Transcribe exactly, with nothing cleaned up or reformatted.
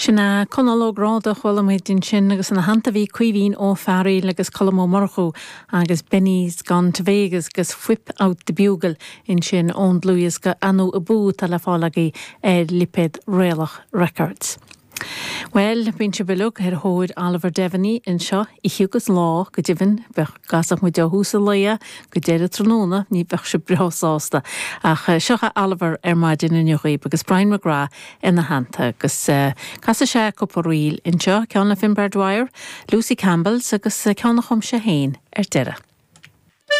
Sin é Conall Ó Gráda chuala muid ansin agus ina theannta bhí Caoimhín Ó Fearghail agus Colm Ó Murchú agus Benny's Gone to Vegas agus Whip Out the Bugle ansin ón dlúthdhiosca Anú Abú atá le fáil agaibh ar lipéad Réalach Records. Well, bíonn sibh uilig ar thóir Oliver Devaney anseo oíche agus lá go deimhin dá gcasfadh muid ó thús an lae go deireadh tráthnóna ní bheadh sibh breá sásta ach eh, seo Oliver ar maidin inniu agus Brian McGrath ina theannta agus uh, casfaidh sé cúpla ríl anseo ceann le Finbar Dwyer, Lucy Campbell's agus eh, ceann a chum sé féin ar deireadh.